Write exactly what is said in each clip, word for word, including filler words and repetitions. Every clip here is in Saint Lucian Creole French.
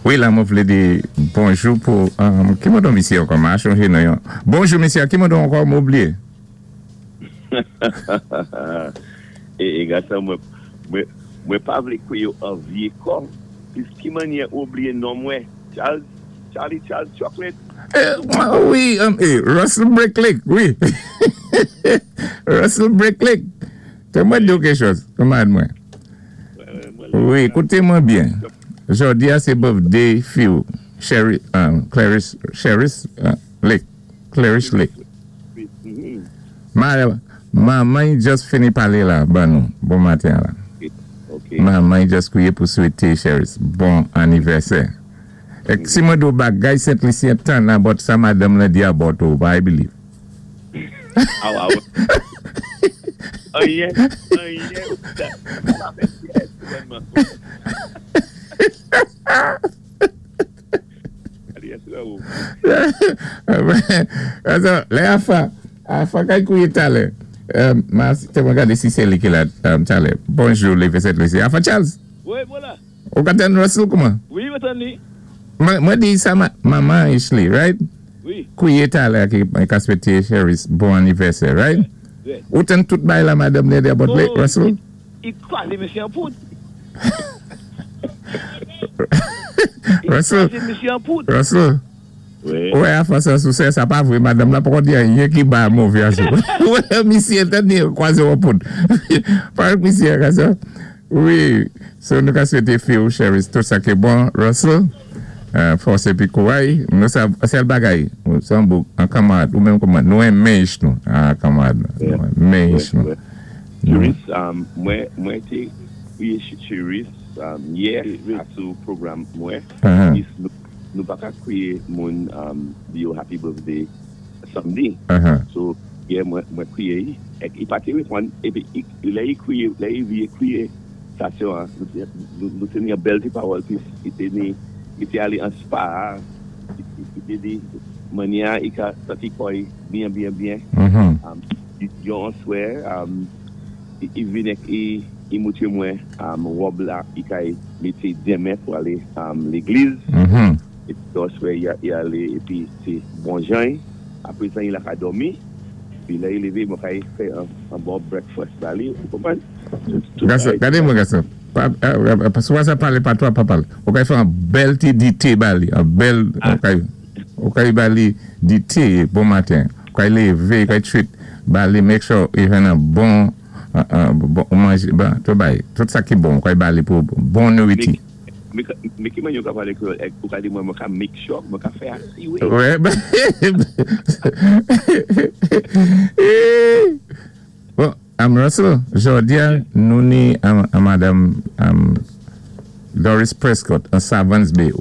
Wi, la, mwen vlé di bonjou pou um, ki mo don misyé ankò? Ma chanjé non yon. Bonjou misyé, ki mo don ankò m oubliyé. É, é gason, mwen, mwen, mwen pa vlé kwé yo anvyé kò. Pis ki mannyè oubliyé non mwen? Charles, Charlie Charles Chocolate. Eh, wi, um, eh, Russell Bricklick, wi. Russell Bricklick. Té mwen di ou kèk chòz, kanmarad mwen. Wi, kouté mwen byen. Jòdi a sé birthday fi ou, Sherry, um, Clarice, Sherris uh, Lake. Clarice Lake. Ma, manman just fini palé la, ban nou, bon maten la. Ok. Manman just kwiyé pou swété Sherris bon anivèsè. É si mwen di ou bagay Sent Lisyen tann about sa madanm la di about ou, I believe. Ah, ah, Anyen, anyen, ou pa fè pyès, vrèman. Allez, yes, ou. Ato, lè afa, afa kay kouye talè. Um, ma, té mwen gadé si sé li ki la um, talè. Bonjou, Lévé Sent Lisyen. Afa Charles, Wi, vwala. Ou ka tann Russell kouman? Wi, mwen tann ni. Mwen, mwen di sa ma, manman Ashley, right? Wi. Kouye talè ki ka swété Sherris bon anivèsè, right? Wi. Ou tann tout bay la madanm ni di about Oh, Russell? I kwazé misyé an poud. I Russell, kwazé misyé an poud. Russell, Wi. Wè, afa sa sou sé, sa pa vwé, madanm la poko di anyen ki ba mové asou. Wè, misyé, tan ni kwazé an poud. Parak misyé, ka sa? Wi, so nou ka swété fi ou Sherris, tout sa ki bon, Russell, euh, fòs épi kouray, nou sa, sèl bagay, ou san bouk, an kanmarad, ou menm kouman, nou renmen ich nou, an kanmarad, nou renmen ich nou. Wè. Cheris, um, mwen, mwen té kwiye Cheris um, yè Wi. asou pwogram mwen. Uh-huh. Pis nou, nou pa ka kwiye moun um, di yo happy birthday samdi. Uh-huh. So, yè mwen, mwen kwiye, ek i pa té reponn, épi i, lè i kwiye, lè i vié kwiye stasyon an, nou té, nou, nou té ni yon bèl ti pawòl, pis i té ni, i té alé an spa, i, i, i té di, mannyè i ka santi kò i byen, byen, byen. Mhm. Um, yon answè, um, i, i vin ek i, i moutré mwen um, wòb la, i kay mété denmen pou alé um, légliz. Mhm. Épi answè i, i alé, épi sé bon jan, apwé sa i la ka dòmi, pi lè i lévé, mwen kay fè an, an bon breakfast ba li, ou konpwann? Tout, tout Gason, bagay- gadé mwen gason. Pa, euh, euh, swa sa palé pa twa, pa palé. Ou kay fè an bèl ti dité ba li, an bèl, ou kay, ou kay ba li dité bon maten. Ou kay lévé, kay treat, ba li make sure i jwenn an bon, euh, euh, bon, ou manjé, bon, tout bay, tout sa ki bon, ou kay ba li pou bon nouriti. Mais, mais ki mannyè ou ka palé kwéyòl, ek, ou ka di mwen mwen ka make sure, mwen ka fè asi, wi. Wè, ben, bon, am Russell, jòdi a, nou ni am, am Madam um, Doris Prescott an Savans Bay.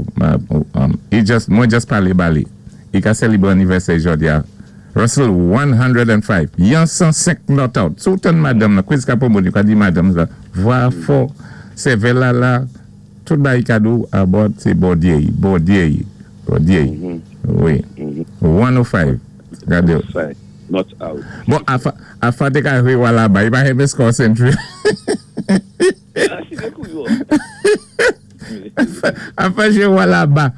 Um, i just, mwen just palé ba li. I ka sélibwé anivèsè jòdi a. Russell, one hundred and five. Yon san senk not out. Sou tann madanm la, quiz ka pou moun, ka di madanm la, vwa fò, sèvèl la la, tout bay kado about sé Bondye, Bondye, Bondye. Wi. one oh five. Gadé. Five, not out. Bon, afa, afa té ka jwé walaba, i pa renmen score century. Ah, si kou yo. Afa jwé walaba.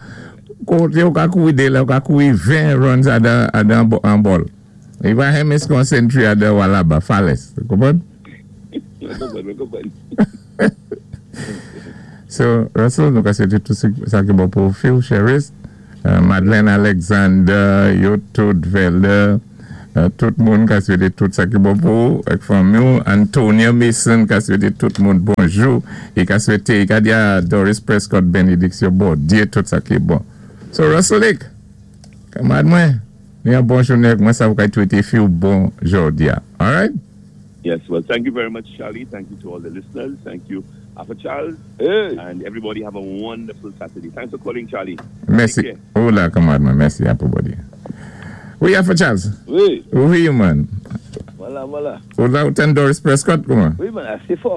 Koté ou ka kouri dé la, ou ka kouri ven runs adan, adan bo- an ball. I pa renmen score century adan walaba, Fales. Konpwann? Mwen konpwann, mwen konpwann. So, Russell, nou ka swété tout sa ki bon pou fi ou, Cheris, uh, Madeleine Alexander, yo tout Vele, uh, tout moun ka swété tout sa ki bon pou ou, ek fanmi ou, Antonia Mason ka swété tout moun bonjou, i ka swété, i ka di a Doris Prescott benediksyon Bondye tout sa ki bon. So, Russell Lake, kanmarad mwen, ni an bon jounen, mwen sa ou ka swété fi ou bon jòdi a. Alright? Yes, well, thank you very much, Charlie. Thank you to all the listeners. Thank you, Alpha Charles. Hey. And everybody have a wonderful Saturday. Thanks for calling, Charlie. Mèsi. Take care. Ou la, kanmarad mwen, mèsi a pou Bondye. Wi, Alpha Charles. Wi, Wi, man. vwala, vwala. Ou la ou tann Doris Prescott, kouman? Wi, man, asé fò.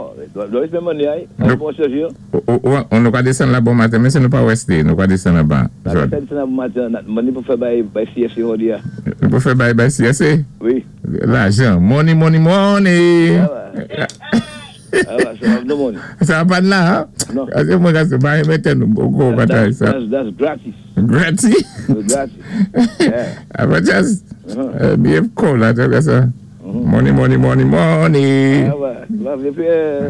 Doris menm mwen ay, Nou- bon sèjir. Ou, ou, ou, on nou ka désann la bon maten, men sé nou pa West nou ka désann an ba. La Jòd. fè nan maten, mwen ni pou fè bay bay C S C jòdi a. Nou pou fè bay bay C S A? Wi. Lajan. Money, money, money. Ah, Ah, so I have no money. Sa pa la, ha? Non. Paské mwen ka sé pa mété nou boko batay sa. That's, that's gratis. Gratis? Gratis. Yeah. Apwé just, Uh-huh. euh, byen cool la, té sa. Money, money, money, money. Ah ouais, Lave Pierre.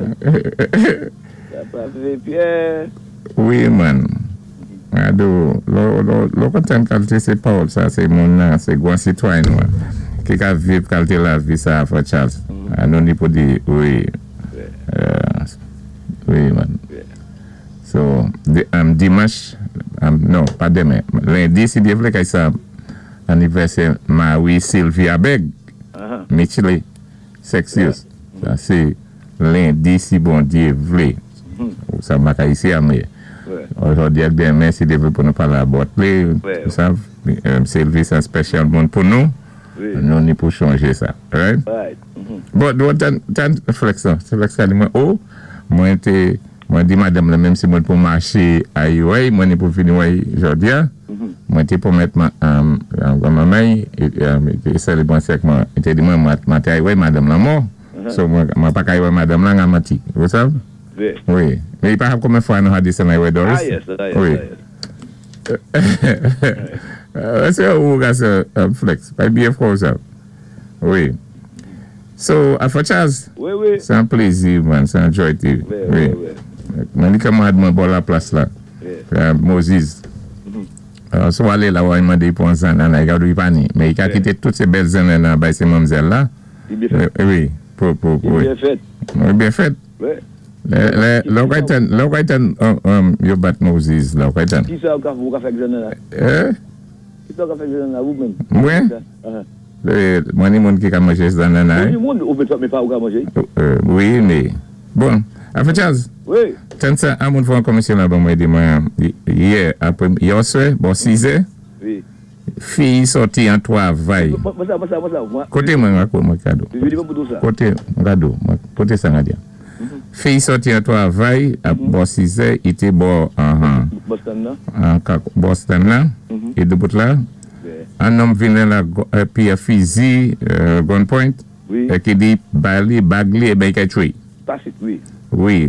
Lave Pierre. Wi, man. Ado, lò, lò, lò kontan kalité sé Paul sa, sé moun nan, sé gwan sitwayen nou. Ki ka viv kalité lavi sa, Frè Charles. Ah, nou ni pou di, wi. Euh, wi, man. So, di, um, dimanch, um, non, pa denmen, lendi, si Dye vlé, kay sa anivèsè Marie Sylvia Beg, Uh-huh. Michele Sexius. Sa, sé lendi, si Bondye vlé. Sa ma ka isi a mwen. Ouais. Ojòdi ak denmen, si Dye vlé pou nou palé about li, Ouais. sa, euh, Sylvie, sé an special moun pou nou, Wi. nou ni pou chanjé sa. Right? Right. Mhm. Bon, bon, tan, tan, flex sa, flex sa di mwen, oh, mwen té, mwen di madanm la, menm si mwen pou maché a wèy, mwen ni pou vini wèy jòdi a, mwen té pwomèt ma, um, manman, é, um, é sélébwan sèk mwen, i té di mwen, mwen, mwen té ay wèy madanm la mò, so mwen, mwen pa ka ay wèy madanm la nga manti, vous savez? Wi. Wi. Mais il pa konbyen fwa nou a di sa nan wèy Doris? Ah, yes, ah, yes, Wi. ah, yes. Euh, sé ou ga sa, um, flex, pa byen fò sa. Wi. So, Afro Charles, Wi, wi. sé an plézi, man, sé an joy. Wi, Wi. wi, wi. Mwen ni kamarad mwen bò la plas la. Wi. Euh, Moses. Euh, so alé la, wè, mandé pou an zannan, i ka dou i pa ni. Men i ka Wi. kité tout sé bèl zannan bay sé manmzèl la. I byen fèt. Euh, wi, pou, pou, I wi. byen fèt. Wi, byen fèt. Wi. Lè, lè, lè ou kay tan, lè ou kay tan, um, um, yo bat Moses la, ou kay tan. Ki sa ou ka, ou ka fè ak zannan la? Eh? Ki sa ou ka fè ak zannan la, ou menm? Mwen? Uh-huh. Lè, mwen ni moun ki ka manjé zannan Ou la. ni moun, ou mé pa ou ka manjé? Euh, wi, mé, bon, Afro Charles, Wi. tan sa, an moun fò an komisyon la ban mwen di mwen, yè, apwé, yè oswè, bon, sizè, Wi. fi sòti an twavay. Mwen sa, mwen sa, mwen sa. Mwen, Koté mwen mwen mwen kado. Mwen di mwen pou tou sa. Koté, mwen kado, mwen, koté sa nga di. Fi sòti an twavay, ap bò sizè, i té bò, an, Boston nan. an, ka, Boston la, i debout la, Wi. an nonm vini la, go- euh, pi a fizi, euh, gunpoint, Wi. é ki di, ba li, bag li, é ben i kay tchwé. Pasit, wi. Wi.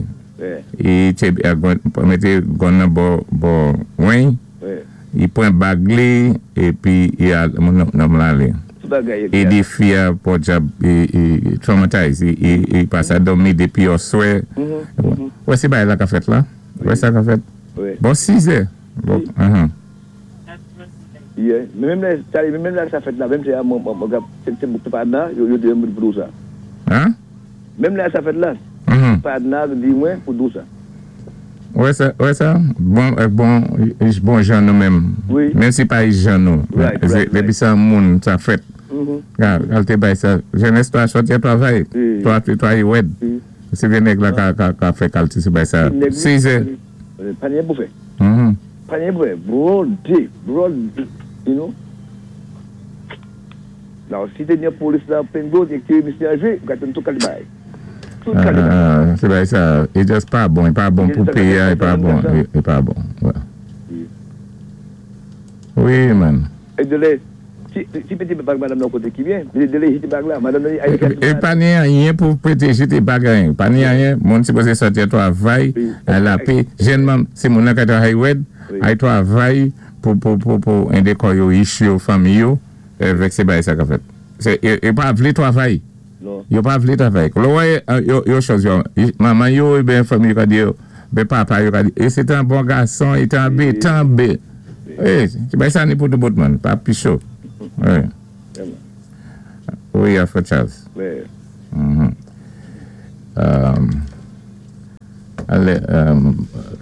Wi. I té, euh, gun, mété gun nan bò, bò, wen, Wi. i pwan bag li, épi i al, moun nonm la alé. Tout bagay. É di fi a pòdyab, i, i traumatized, i, i, i pa sa dòmi dépi oswè. Wè sé bagay la ka fèt la? Wè sa ka fèt? Wi. Bon, sizè. Bon, uh-huh. Yeah. Men menm lè, Charlie, menm lè sa fèt la, menm sé, mwen, mwen, mwen, sé, sé, sé pa nan, yo, yo di mwen pou dou sa. Hein? Menm lè sa fèt la, Mhm. pa nan, di mwen pou dou sa. Wè sa, wè sa? Bon, euh, bon, bon jan nou menm. Wi. Menm si pa jan nou. Right, right, Dépi sa moun, sa fèt. Mhm. Ka, kalte bay sa. Jenès toa sòti a twavay. Wi. Toa, toa yi wèd. Wi. Se vye nèg la ka, ka, ka fè kalte sé bay sa. Nèg- Sizè. Euh, Pa ni pou fè. Mhm. Pa ni pou fè. Broad day, broad, you know. Now, si té ni polis la, pengo, é ki misye a jwé, ka ten tout kalté bagay. Tout kalté bagay. Ah, sé bay sa, i just pa bon, i pa bon pou péyi a, i pa bon, i, i pa bon. Wè. Wi. Wi, man. É de lè, si, si pété bag madanm nan koté ki byen, de de lè jité bag la, madanm nan, ay, É pa ni anyen pou pwotéjé té bagay. Pa ni anyen, moun sipozé sòti a twavay, Wi. a la pé. Jènman, sé moun nan ka travay wèd, Wi. ay twavay pou, pou, pou, pou édé kò yo, ich yo, fanmi yo, avèk sé bagay sa ka fèt. Sé, yo, yo pa vlé twavay. Non. Yo pa vlé twavay. Lò wè, yo, yo chòz yo, manman yo, é ben fanmi yo ka di yo, ben papa yo ka di, é sé an bon gason, i té an bé, tan bé. É, sé bagay sa ni pou tou bout man, pa pi cho. Wi. Wi, Afro Charles. Wi. Mhm. Um, alé, um,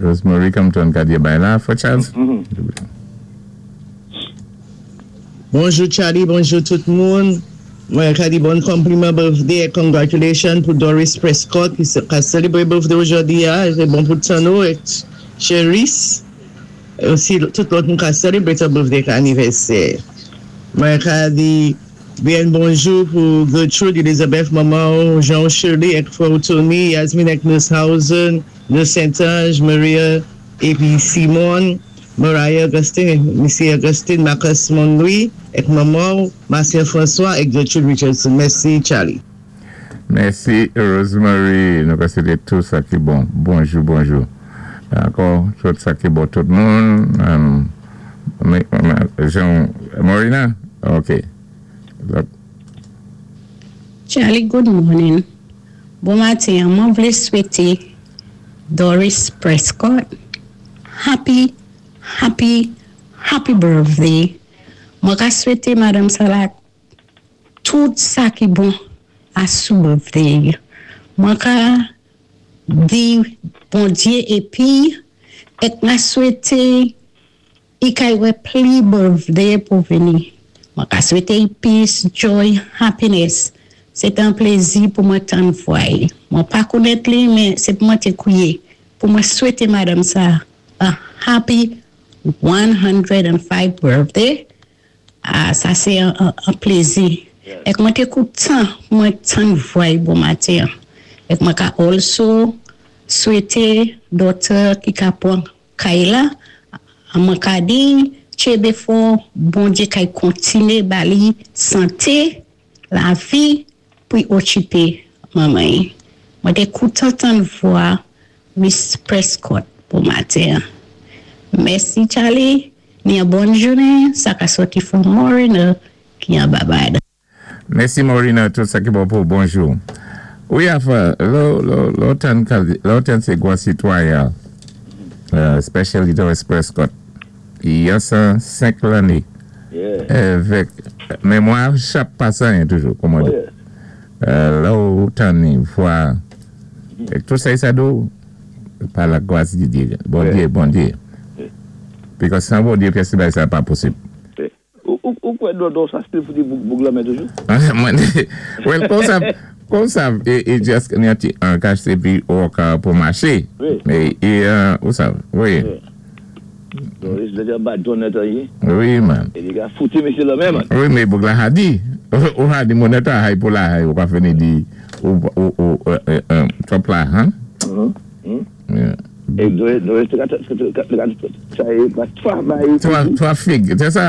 Rosemary Compton ka di bay la, Afro Charles? Mhm. Bonjou Charlie, bonjou tout moun. Mwen ka di bon konpliman birthday é congratulations pou Doris Prescott ki sé- ka sélébré birthday ojòdi a. Sé bon pou Tano é Cheris. É osi tout lòt moun ka sélébré sa birthday ka anivèsè. Mwen ka di byen bonjou pou Gertrude, Elizabeth, manman, Jean Shirley, ek frè Tony, Yasmine ek Nushausen, Nurse Saint-Ange, Maria, épi Simone, Mariah Augustine, Missy Augustine, Marcus Monlouis, ek manman, Marcel François, ek Gertrude Richardson. Mèsi, Charlie. Mèsi Rosemary, nou ka swété tout sa ki bon. Bonjou, bonjou. Ankò, tout sa ki bon tout moun. Um, Jean Morina? OK. Charlie, good morning. Bon maten, mwen vlé swété Doris Prescott happy, happy, happy birthday. Mwen ka swété Madame Salah tout sa ki bon a sou birthday. Mwen ka di Bondyé épi èk mwen swété i kay wè pli birthday pou vini. Mwen ka swété peace, joy, happiness. Sé yon plézi pou mwen tann vwa. Mwen pa konnèt li, men sé pou mwen té kwiyé. Pou mwen swété Madame sa a happy one hundred and five birthday. Ah, sa sé yon, yon, yon plézi. Èk mwen té kontan, mwen tann vwa bon maten. Èk mwen ka also swété daughter ki ka pwan kay la, mwen ka di, tchébé fò, Bondyé kay kontiné ba li santé, lavi, pou okipé manman. Mwen té kontan tann vwa Miss Prescott pou maten. Mèsi Charlie, ni yon bòn jounen, sa ka sòti from Morina ki an Barbade. Mèsi Morina, tout sa ki bon pou bonjou. Wi, afa, lò, lò, lò tan, lò tan sé gwan sitwayen, uh, especially Doris Prescott, i yon san senk lanné. Yeah. Avèk mémwa chap pasan toujou, kòman Oh, di. yeah. Euh, la ou tan ni vwa, èk tout sa sa do, pa la gwas di Dyé, Bondyé, Bondyé. Because san Bondyé, pyès bagay sa pa posib. Ou, ou, ou kwè do, do sa still fouti boug, boug la men toujou? Well, kon sa, kon sa, e, e just ni an ti an kache se pi ou ka pou maché. Wi. Mais, e, euh, ou sa, wi. Doris, lè te ba John net ye. Wi, man. É li ka fouti misyé la men, man. Wi, men boug la hadi. Ou hadi moun eta hay pou la hay, ou ka fini di, ou, ou, ou, euh, euh, trop la, han? Mhm. Mm. Yeah. É Doris, Doris, te ka, te ka, te ka, sa yé, ba twa ba yé. Twa, twa fig. Sé sa,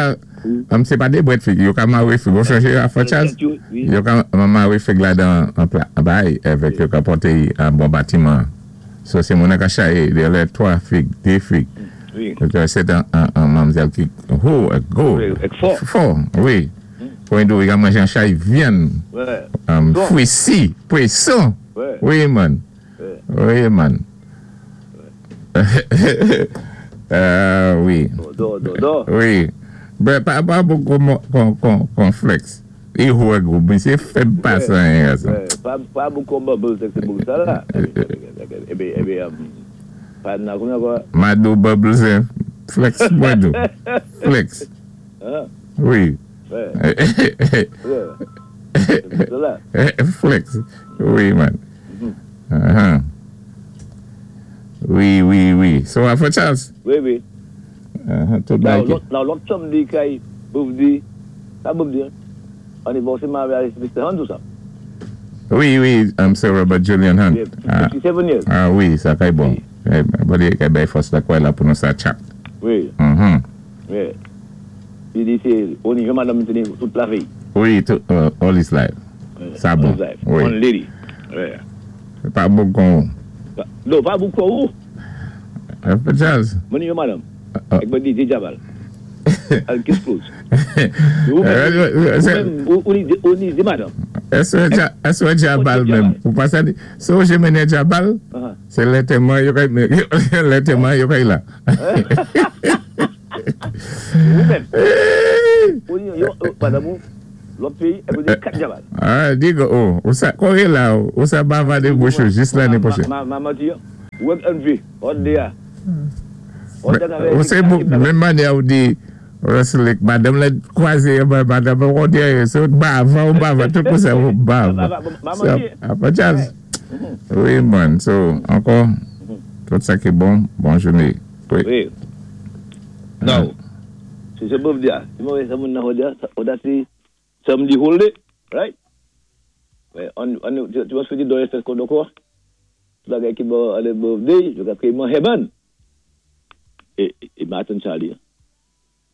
am sé pa dé bwèt fig, yo ka maré fig. Ou chanje a fò chaz? Wi. Yo ka maré fig la dan an pla, bay, avèk yo ka pòté an bon batiman. So sé moun ka chaye, de lè twa fig, dé fig. Wi. Sé an, an, an manmzèl ki, ho, go. Wi, èk fò. Fò, wi. Pou yon do, yo ka manje an chay vyann. Ouais. Um, Bon. Fwisi, pwéson. Ouais. Wi, man. Ouais. Wi, man. Euh, wi. Do, do, do. Wi. Ben, pa, pa pou kon, kon, kon, kon flex. I houè gou, men sé fèb pasan yon sa. Ouais, pa, pa beaucoup bubbles c'est boug ça là. Eh ben, eh ben, um, pa nan konya kwa. Mado bubbles, eh. Flex, Mado. Flex. Hein? Wi. Ouais. Ouais. C'est ça là. Flex. Wi, man. Uh-huh. Wi, wi, wi. So, afè Charles? Wi, wi. Uh-huh. Tout Now, bagay. lòt, now, lòt samdi kay birthday, sa birthday, anniversaire mariage Mister Hunt ou sa? Wi, wi, um, Sir Robert Julian Hunt. Yeah, Ah, fifty-seven years. Ah wi, sa kay bon. Eh, Bondyé kay bay fòs la kwa la pou nou sa chat. Wi, Mhm. wi. I di sé, on y madame teni tout lavi. Wi, tout, uh, all his life. Ouais. Sa bon. All his life. Wi. One lady. Ouais. Pa bon kon. Non, pa beaucoup ou. Afè Charles. Mwen yon madame. Ah. Èk mwen di, di Jabal. Al kiss close. Ou Euh, c'est- menm, ou, ou, ni- ou ni di madame. Èswè èswè Jabal menm? Ou pa sa di, so jé mennen Jabal, Uh-huh. sé lètèman yo kay, lètèman yo kay la. Ou menm. Ou ni, yo, madame ou, lòt péyi, èk mwen di kat Jabal. Ah, digo, oh, ou sa, kore la, ou sa bavadé bouch ou jis lanné pwochèn. Ma, ma, ma, ma, ou èk N V, hot day a. Hot day a. Ou sé, menm mannyè ou di, Russell, madame la kwazé, madame ou di, sé bava ou bava, tout pou sa ou bava. Ma, So, ma, apa Charles? Wi, man, so, ankò, tout sa ki bon, bon jouné. Wi. Wi. Now, si sé birthday a, si mwen sa moun nan hot day, hot day si samdi whole day, right? Ouais, on, on, tu, tu vas se dire dans l'espèce qu'on quoi? Tout bagay ki bon ale birthday, yo ka kriye heaven. É, é Martin Charlie.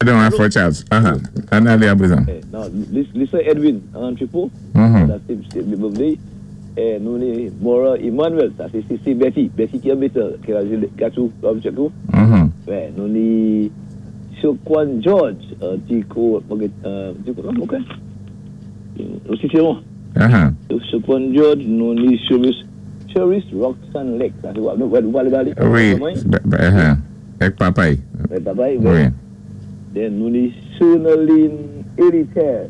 Don, afè Charles. Aha, ann alé aprezan. Eh, non, Lisa Edwin, an Tripo, Mhm. that's the birthday. Eh, nou ni Mora Emmanuel, sa sé sé Betty, Betty ki an Bethel, ki a tou, Mhm. Wè, nou ni Chokwan George, ti ko, ti ko, ok. Osi sé bon. Uh-huh. Chokwan George, nou ni Cheris, Cheris Roxanne Lake, sa sé wè, nou wè bali? Wi, uh-huh. Ek papay. Ek papay, wi. Then nou ni Sonaline Héritaire.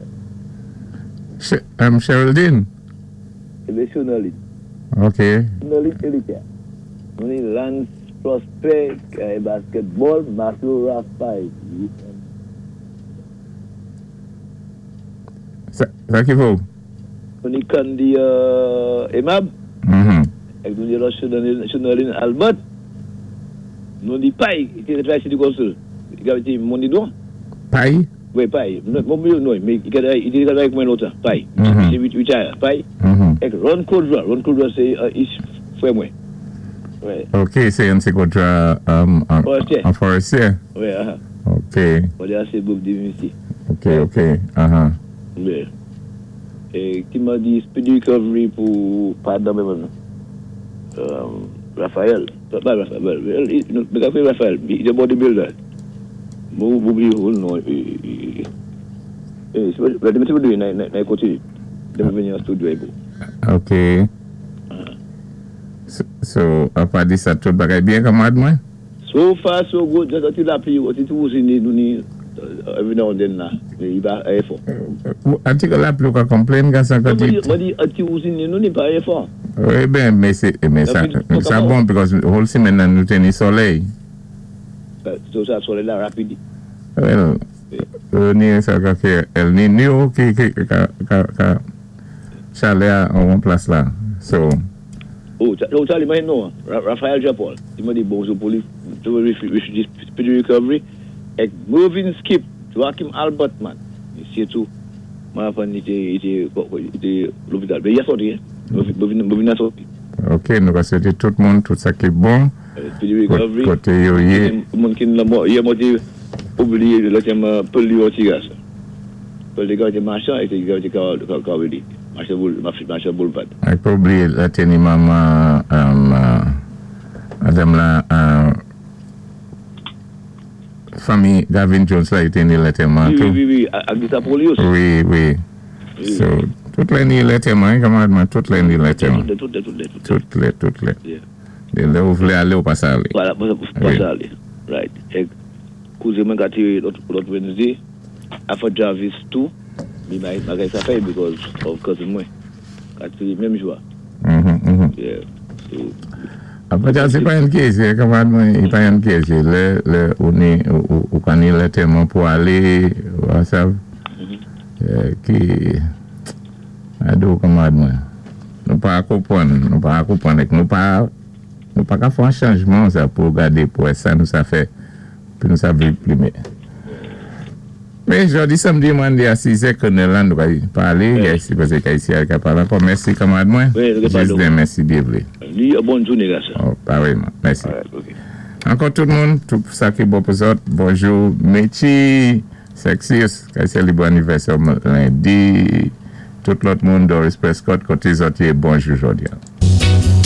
Um, Geraldine? Ébé Sonaline. Ok. Sonaline Héritaire. Nou ni Lance Prosper, basketball, Matthew Raphael. Sa, sa ki vo? Nou ni Candy uh, Emab. Mm-hmm. Ek nou ni Sonaline Albert. Nou ni Pay, ki té travay City Council. I té moun ni don. Pay? Wi, Pay. Mwen non, mé i té travay ak mwen lontan, Pay. Mm-hmm. Sé retire, Pay. Mm-hmm. Ek Ron Kodra, Ron Kodra sé uh, is frè mwen. Wè. Ok, sé yon sé Kodra um, an, Forestier. An forestier? Wè, aha. Ok. Wè, sé birthday misi. Ok, ok, aha. Wè. É ki mwen di speedy recovery pou padon mwen um, Raphael. Pa Raphael, well, mwen ka fè Raphael, he's a bodybuilder. Mwen oublié non. Eh, c'est mwen te nan nan koté. De mwen vini an studio pou. Ok. So, so apa di sa tout bagay byen kanmad mwen? So far so good, just until lapli, until tou ni nou ni every now and then la, mé i pa é fò. Anti ke lapli ou ka complain ka sa Mwen kati? di, mwen di, anti ouzin nou ni pa é fò. Wi ben, mé sé, mé sa, sa bon because whole simenn nan nou té ni solèy. So sa solèy la rapid. Well, ni sa ka ké El Niño ki, ki, ka, ka, ka chalè an an plas la. So, Oh, oh, Charlie, mwen non, Raphaël Jean-Paul. I mwen di bonjou pou li, speedy recovery. Ek Mervyn Skip, Joachim Albert man. Sé tou, mwen apan i té, i té, i té lopital. Mé i a sòti, Mervyn, Mervyn a sòti. Ok, nou ka swété tout moun, tout sa ki bon. Speedy recovery. Koté yo yé. Moun ki la mò, yé mwen té oublié lè tèm Paul Léon Tigas. Paul Léon té machan, é té té ka ka ka Machan boule, machan boulevard. Ak pa oublié la té ni maman um, uh, Adam la uh, fanmi Gavin Jones la i té ni lantèman Wi, tou. wi, wi, ak di sa pou li osi. Wi, wi. So, tout lè ni lantèman, kanmad mwen, tout lè ni lantèman. Tout lè, tout lè, tout lè. Tout lè, tout lè. Yeah. Dé lè ou vlé alé ou pa sa alé. Voilà, pa sa alé. Right. É kouzen mwen ka té lòt lòt Wednesday, Afa Jarvis tou, mi bagay sa fè because of cousin mwen. Ka té menm jou a. Mhm, mhm. Yeah. So, Apa ja sé pa yon kézé, kanmad mwen, i pa yon kézé. Lè, lè ou ni, ou, ou ka ni lantèman pou alé, ou sav, eh, ki, ado kanmad mwen. Nou pa konpwann, nou pa konpwann, ek nou pa, nou pa ka fè an chanjman sa pou gadé pou wè sa nou sa fè, pou nou sa viv pli mé. Mé jòdi samdi mwen di a sis è konnen lan nou ka palé, mm. Paské ka isi al ka palé ankò. Mèsi kanmad mwen. Wi, nou ka palé. Jis mèsi byen vlé. Li, bòn jouné gason. Oh, parèyman, mèsi. Alright, ok. Ankò tout moun, tout sa ki bon pou zòt, bonjou, Mechi, Sexius, ki sélébwé anivèsè lendi, tout lòt moun, Doris Prescott, koté zòt yé, bonjou jòdi a.